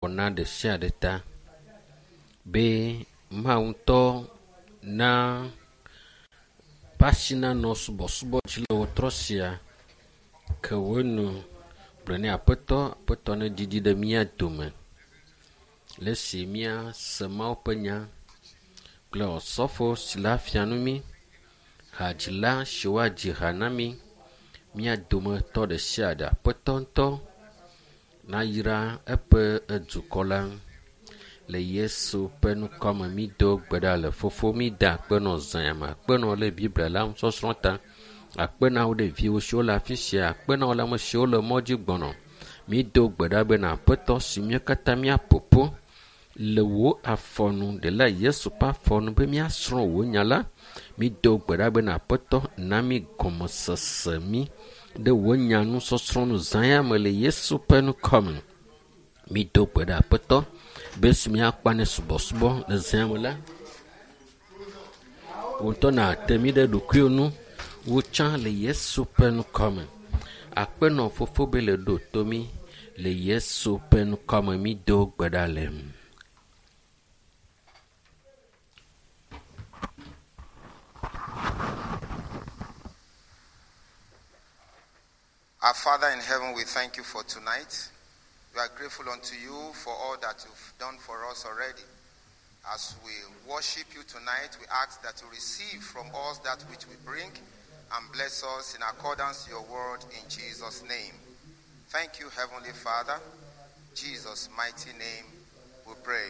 Wɔna ɖe sia ɖe ta be Mawu ŋutɔ na ƒe asi nanɔ subɔsubɔ dzi le wetrɔ sia ke wonu gblɔ ne aƒetɔ aƒetɔ ne didi ɖe mía dome le esi míase Mawu ƒe nya kple osɔfo si le afia nu mí hadzila si woadzi ha na mí mía dometɔ ɖe sia ɖe aƒetɔ ŋutɔ nayra eƒe dukɔ la le Yesu ƒe ŋkɔme mi do gbe ɖa le fofo mi da akpe nɔ zãyame akpe nɔ le Biblia la nusɔsrɔ̃ ta akpe na wo ɖeviwo siwo le afi sia akpe na wo le ame siwo le mɔ dzi gbɔnɔ mi do gbe ɖa bena aƒetɔ si mía katã míaƒoƒo le wò afɔnu ɖela Yesu ƒe afɔnu be míasrɔ̃ wò nya la mi do gbe ɖa bena aƒetɔ na mi gɔmesese mi ɖe wò nya nusɔsrɔ̃ nu zãyame le Yesu ƒe ŋkɔme mi do gbe ɖa aƒetɔ be si míakpa ne subɔsubɔ le zãyame la wò ŋutɔ nàte mí ɖe ɖokuiwò nu wò tsã le Yesu ƒe ŋkɔme akpe nɔ fofo be le ɖo to mí le Yesu ƒe ŋkɔme mi do gbe ɖa le. Our Father in heaven, we thank you for tonight. We are grateful unto you for all that you've done for us already. As we worship you tonight, we ask that you receive from us that which we bring and bless us in accordance to your word in Jesus' name. Thank you, Heavenly Father. Jesus' mighty name we pray.